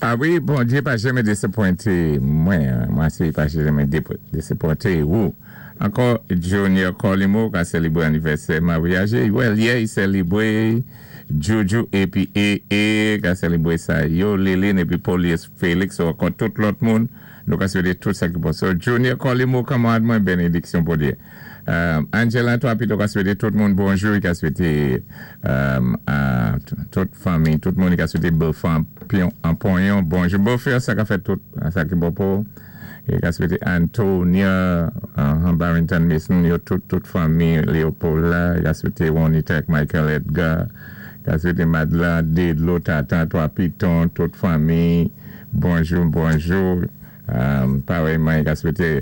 A wi, Bondyé pa janmen désapwenté mwen, mwen asiré pa janmen désapwenté ou. Ankò, Junior Colimo ka sélébwé anivèsè maryaj. Well, yeah, i sélébwé Juju épi E ka sélébwé sa yo, Lilin épi Polius Félix ou ankò tout lòt moun. Nou ka swété tout sa ki bon. So, Junior Colimo, kanmarad mwen, bénédiksyon Bondyé. Angela Twapito ka swété tout moun bonjou, i ka swété tout fanmi, tout moun, i ka swété Beaufort an ponyon, bonjou Beaufort, sa ka fèt tout, sa ki bon pou. I ka swété Antonia, Barrington Mason, yo tout, tout fanmi Leopold la, i ka swété Juanita ak Michael Edgar, i ka swété Madla, Dedlo, Tatan, Twa Piton, tout fanmi, bonjou, bonjou. Parèyman, i ka swété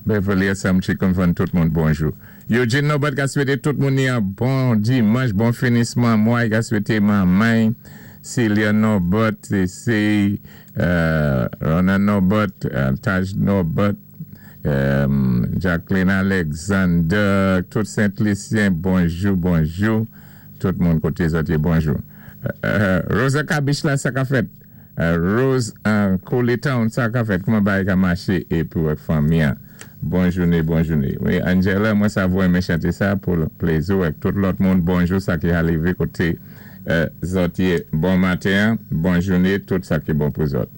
Beverly Assam Chicken Fun, tout moun bonjou. Eugene Norbert ka swété tout moun ni an bon dimanch, bon finisman mwa, i ka swété manman, Celia Norbert, C.C., Rona Norbert, Taj Norbert, Jacqueline Alexander, tout Saint-Lucien, bonjou, bonjou, tout moun koté zòt yé, bonjou. Rosa Kabish la, sa ka fèt. Rose an Town, sa ka fèt, kouman bagay ka maché épi ak fanmi an. Bon jouné, bon jouné. Wi, Angela, mwen sa vou renmen chanté sa pou plézi ak tout lòt moun. Bonjou, sa ki arivé koté zòt yé. Bon maten, bon jouné, tout sa ki bon pou zòt.